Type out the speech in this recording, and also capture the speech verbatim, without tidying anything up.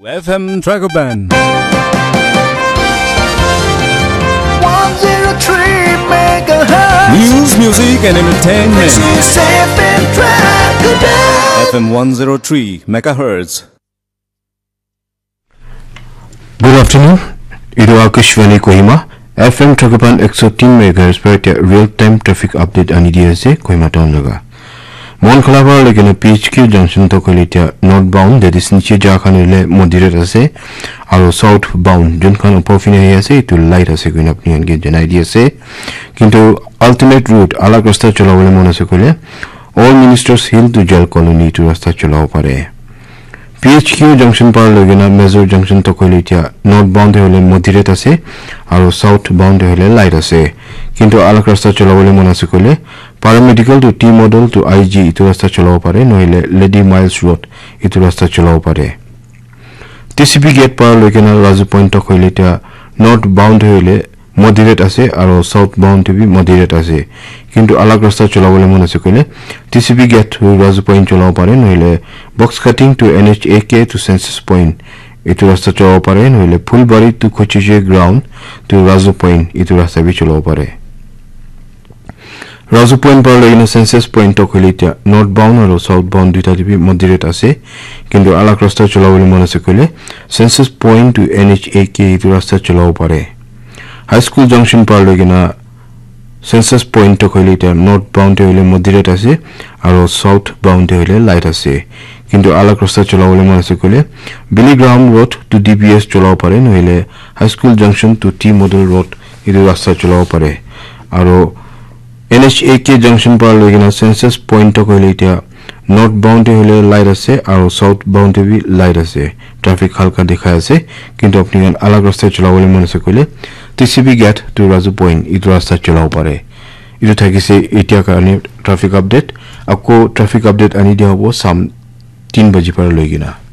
F M Dragoban. One zero three megahertz. News, music, and entertainment. This is F M Dragoban. F M one zero three megahertz. Good afternoon. Idu Akashvani Kohima. F M Dragoban ekso tin megahertz per real time traffic update ani di ase Kohima town laga. Monkholabari loikena P H Q junction tokoile itia northbound, that is niche ja khan hoile moderate ase, aro southbound jun khan upor phine ahi ase, etu light ase koina apni khan ke janai di ase. Kintu alternate route, alag rasta cholabole mon ase koile, Old Ministers Hill to Jail Colony etu rasta cholabo pare. P H Q junction para loikena Major junction tokoile itia northbound te hoile moderate ase, aro southbound te hoile light ase. Kintu alag rasta cholabole mon ase koile, Paramedical to T Model to I G etu rasta cholabo pare, nohile Lady Miles Road etu rasta cholabo pare. T C P gate para loikena Razu Point tokoile itia northbound hoile moderate ase, aro southbound te bi moderate ase. Kintu alag rasta cholabole mon ase koile, T C P gate to Razu Point cholabo pare, nohile Box Cutting to N H A K to Census Point etu rasta cholabo pare, nohile Phulbari to Kochije Ground to Razu Point etu rasta bi cholabo pare. Razu Point para loikena Census Point tokoile itia northbound aro southbound duita te bi moderate ase. Kintu alag rasta cholabole mon ase koile, Census Point to N H A K etu rasta cholabo pare. High School junction para loikena Census Point tokoile itia northbound te hoile moderate ase, aro southbound te hoile light ase. Kintu alag rasta cholabole mon ase koile, Billy Graham Road to D B S cholabo pare, nohile High School junction to T Model Road etu rasta cholabo pare. Aro N H A K junction para loikena Census Point tokoile itia northbound te hoile light ase, aro southbound te bi light ase. Traffic halka dikhai ase, kintu apni khan alag rasta cholabole mon ase koile, T C P gate to Razu Point etu rasta cholabo pare. Etu thakise itia karone traffic update. Ako traffic update ani dia hobo sam tin baji para loikena.